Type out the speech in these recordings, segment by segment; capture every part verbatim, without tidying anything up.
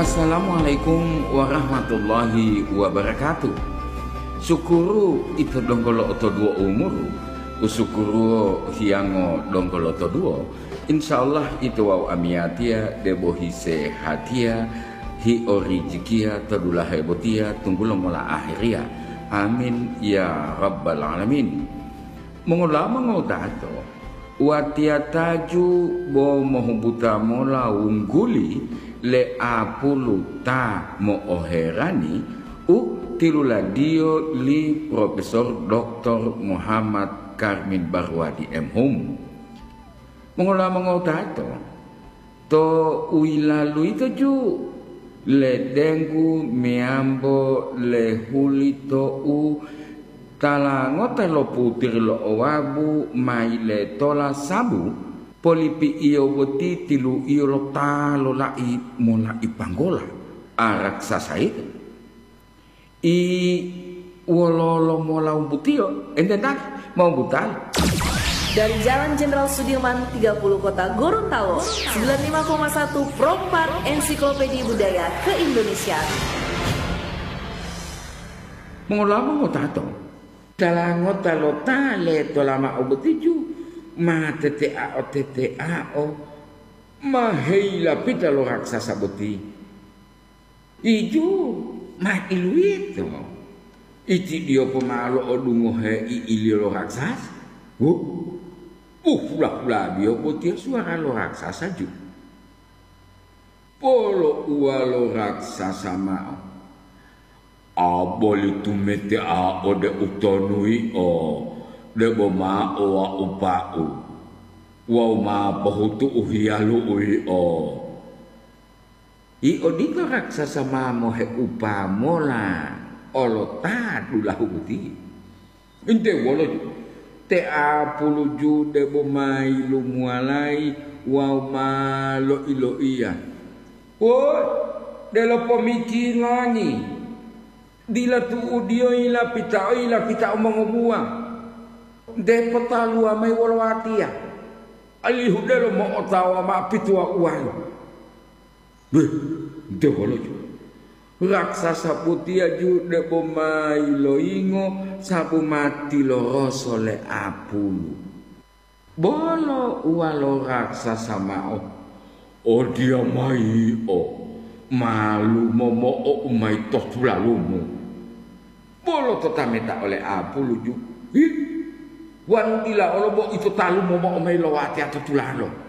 Assalamualaikum warahmatullahi wabarakatuh. Sukuru ito donggo lo'otoduwo umuru, usukuruwo hiyango donggo lotoduwo, insya Allah ito wawu amiyatiya debo hisehatiya, hiorijikiya to dulahe botiya tunggulo mola ahiriya. Amin ya rabbal alamin. Mongolama ngodato, watiya taju bo mohubuta mola wungguli le apulu ta mo'oherani u tiluladiyo li Profesor Doktor Muhammad Karmin Barwadi, M Hum. Mongolama ngodato, to u yilalu yito ju, le denggu meyambo le huli to u tala ngota lo putiri lo owabu ma yiletola sabu polipi'iyo boti tilu'iyo lo ta lola'i mola'i panggola a raksasa yito. I wololo mola wumbutiyo? Ente tali mau butali. Dari Jalan Jenderal Sudirman tiga puluh Kota Gorontalo, sembilan lima koma satu Pro empat Ensiklopedia Budaya Keindonesiaan. Mongolama ngotato, tala ngota lo ta letolama obotiju ma teteao-teteao ma heyilapita lo raksasa boti. Iju ma iluwito, itidiyo pomao lo'odungohe i'iliyo lo raksasa. Hu, uhula-hulabiyo botiya suwara lo raksasa ju. Polo'uwa lo raksasa mao, "A boli tumetea ode utonu yio, debo ma owa'upa'u wawu ma pohutu'u hiyalu'u yio." I odito raksasa ma moheupa mola olo ta dulahu boti. Inte wolo ju, te apulu ju debo ma yilumuwalayi wawu ma loiloiya, "Woi, delo pomikingani! Dila tu'udiyo yilapitao, yilapitao mongobuwa. Nte potaluwa mayi wolo watiya, alihu delo mo'otawa mao pituwauwalu." Beh, nte wolo ju? Raksasa botiya ju debo ma yiloyingo sabu ma tiloroso le apulu. Bolo uwa lo raksasa mao, "Odiyamayi yio, malumo mo'ou mayi to tulalumu." Bolo to tameta ole apulu ju, "Hi, wanu dila olo bo ito talumo mo'o mayi lo watiya to tulalo."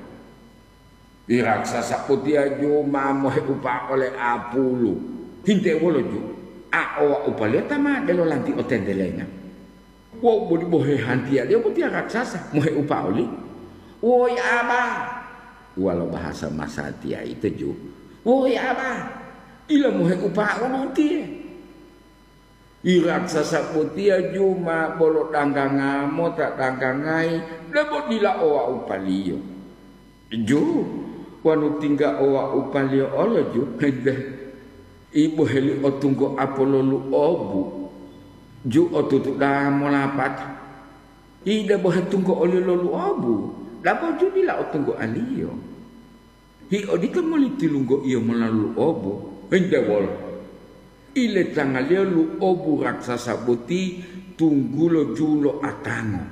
I raksasa botiya ju ma moheupa ole apulu. Hinte wolo ju, a owa'upaliyo ta ma delo lanti otentelenga. Wawu boli bohe hantiyaliyo botiya raksasa moheupa oli. "Woyi Aba," uwalo bahasa masatiya ito ju, "Woyi Aba, dila moheupa ulu utiye." I raksasa botiya ju ma bolo dangganga mota danggangayi debo dila owa'upaliyo. Ju, wanu tingga owa'upaliyo olo ju, hente, i boheli otunggo apololu obu, ju otutu da'a molapata. I debo hetunggo oli lolu obu, dabo ju dila otunggo aliyo. Hi odito moli tilunggoiyo molalu obu, hinte wolo? Iletangaliyo lu'obu raksasa boti tunggulo ju lo atango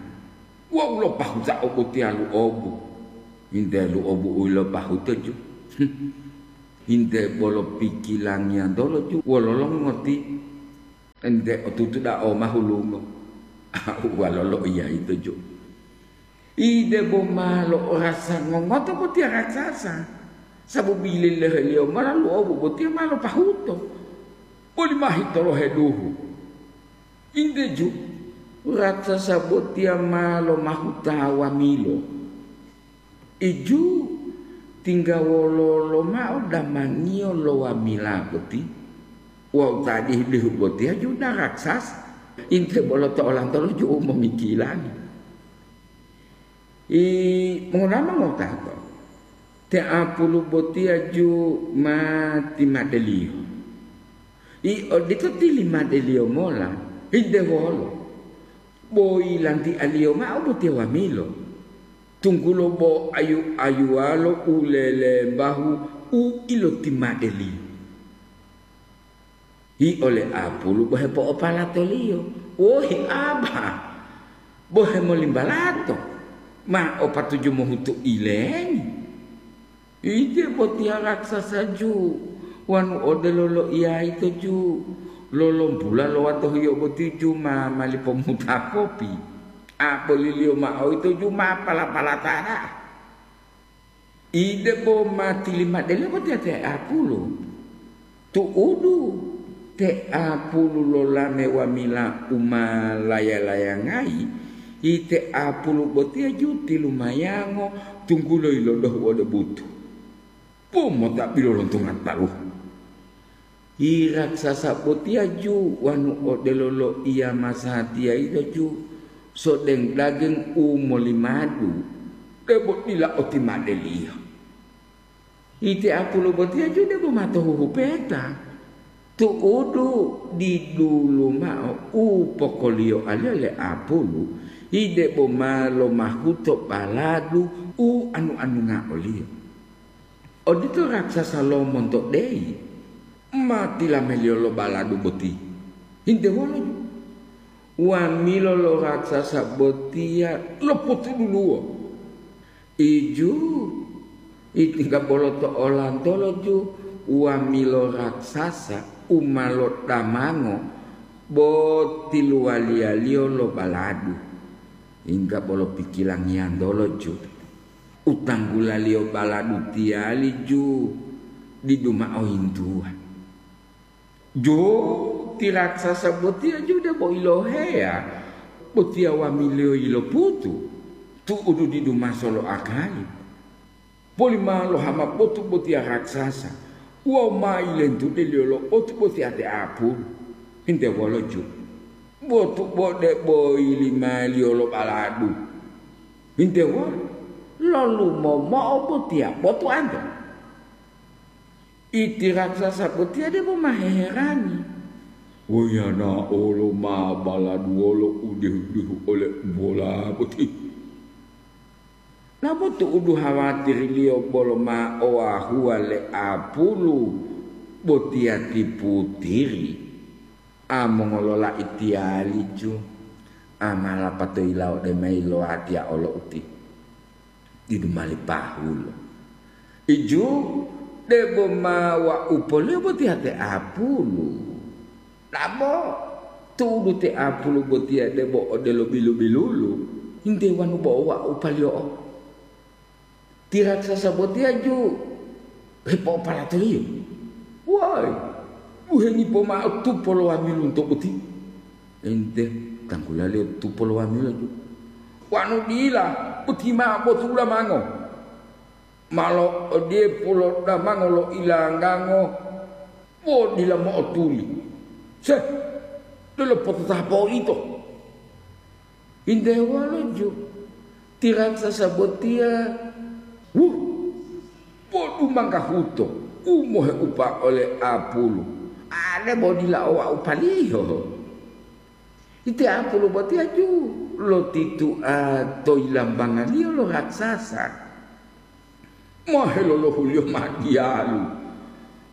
wawu lopahutao botiya lu'obu. Hinte lu'obu u yilopahuto ju. Hinte bolo pikilangiyantolo ju wololo ngoti? Ente otutu dao ma hulungo. Uwalo loiya ito ju. Ide bo ma lo'orasa ngongoto botiya raksasa, sababu yileloheliyo mola lu'obu botiya ma lopahuto, boli ma hitolohe duhu. Inte ju, raksasa botiya ma lomahuta wamilo. Iju, tingga wololo mao damangiyo lo wamila boti? Wawu ta dihu-dihu botiya ju dila raksasa. Inte bolo to olantolo ju u momikilani. I, mongonama ngotato? Te apulu botiya ju ma timadeliyo. I odito tilimadeliyo mola, hinte wolo? Bo yilantialiyo mao botiya wamilo, tunggulo bo ayu-ayuwalo u lelembahu u ilotimadeliyo. Hi ole apulu bo hepo'opalatoliyo. Wohi aba, bo hemolimbalato, ma o patuju mohutu ilengi. Ije botiya raksasa ju, wanu odelo loiya ito ju, lolombula lo watohiyo boti ju ma mali pomuta kopi. Aboliliyo mao ito ju ma pala-palata da'a. Ide bo ma tilimadele botiya te apulu. Tu'udu, te apulu lolame wamila u ma laya-layangayi, ite apulu botiya ju tilumayango tunggulo yilodohu ode butu. Bo mota bilolontunga taluhu. Hi raksasa botiya ju wanu odelo loiya masatiya yito ju, sodeng daging u molimadu, debo dila otimadeliyo. Ite apulu botiya ju debo ma tohuhupeta. Tu'udu didulu mao u pokoliyoaliyo le apulu, hi debo ma lomahuto baladu u anu-anunga oliyo. Odito raksasa lo monto deyi, ma tilameliyo lo baladu boti. Hinte wolo ju, wamilo lo raksasa botiya lopotuduluwo. Iju, itingga bolo to olantolo ju, wamilo raksasa u ma lodamango bo tiluwaliyaliyo lo baladu. Hingga bolo pikilangiyantolo ju, utanggulaliyo baladu tiyali ju didu mao yintuwa. Ju, ti raksasa botiya ju debo iloheya, botiya wamiliyo yiloputu, tu'udu didu maso lo akali. Boli ma lohama botu botiya raksasa, wawu ma yilentudeliyo lo otu botiya te apulu. Hinte wolo ju, botu bo debo yilimaliyo lo baladu. Hinte wolo, lolumomo'o botiya botuwanto. Iti raksasa botiya debo ma heherani. Woyana'olo ma baladuwolo u dihu-dihu ole bola boti. Nabo tu'udu hawatiriliyo bolo ma owahuwa le apulu botiya ti putiri. A mongololai tiyali ju, a ma lapato yilao ode mayi lo watiya olo uti. Didu mali pahulo. Iju, debo ma wa'u poliyo botiya te apulu. Dabo, tu'udu te apulu botiya debo odelo bilu-bilulu, hinte wanu bo wa'u paliyo'o. Ti raksasa botiya ju hepo'opalatoliyo. Woi, buhengi pomao tupo lo wamilunto boti. Ente, tangkulaliyo tupo lo wamilo ju. Wanu dila, boti mao botu ulamango. Ma lo'odiye pulodamango lo ilanggango, bo dila mo'otuli. Se, delo pototapo ito. Hinte wolo ju, ti raksasa botiya, wuh, bo dumangga huto, u moheupa ole apulu, ade bo dila o wa'u paliyo. Iti apulu botiya ju lotitua to yilambangaliyo lo raksasa. Ma helolohuliyo ma diyalu.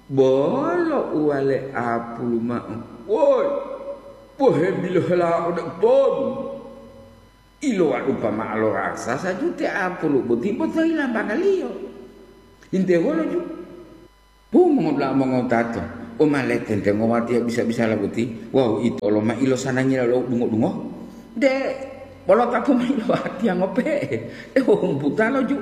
Bolo uwale apulu mao, "Woi, pohebilohela ode utonu." Ilowadupa mao lo raksasa ju te apulu boti botohila bangaliyo. Hinte wolo ju? Hu, mongodula'a mongotato, u ma letentengo watiya bisa-bisala boti, wawu ito olo ma ilosanangiya lo dungo-dungo? De, polotapu mayi lo watiya ngope'e, de'u humputalo ju.